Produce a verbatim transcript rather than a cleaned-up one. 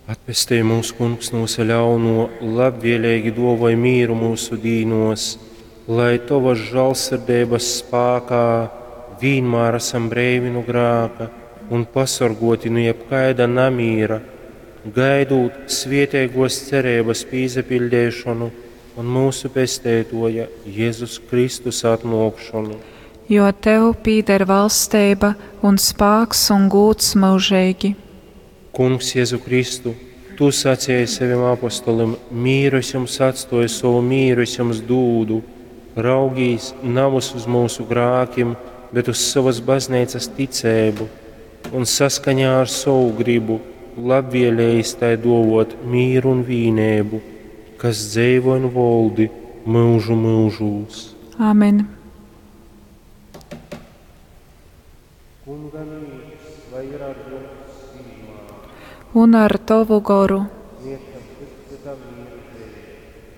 Atpestej mūs, Kungs, nu vysa ļaunuo, labvieleigi duovoj mīru myusu dīnuos, lai Tovas žālsirdeibas spākā vīnmār asam breivi nu grāka un pasorguoti nu jebkaida namīra, gaidūt svieteiguos cereibys pīsapiļdeišonu un myusu Pesteituoja Jezus Kristus atnuokšonu. Jo tev pīder valsteiba un spāks un gūds myužeigi. Kungs Jezu Kristu, Tu saceji sevim apostolim: Mīru es jums atstoju, sovu mīru es jums dūdu. Raugīs navys uz myusu grākim, bet uz sovas bazneicas ticeibu un saskaņā ar sovu gribu labvielējis tai duovot mīru un vīneibu, kas dzeivoj un voldi myužu myužūs. Amen. Kunga mīrs, lai ir ar jums vienmēr. Un ar tovu goru. Sniedzam cits cytam mīra zeimi.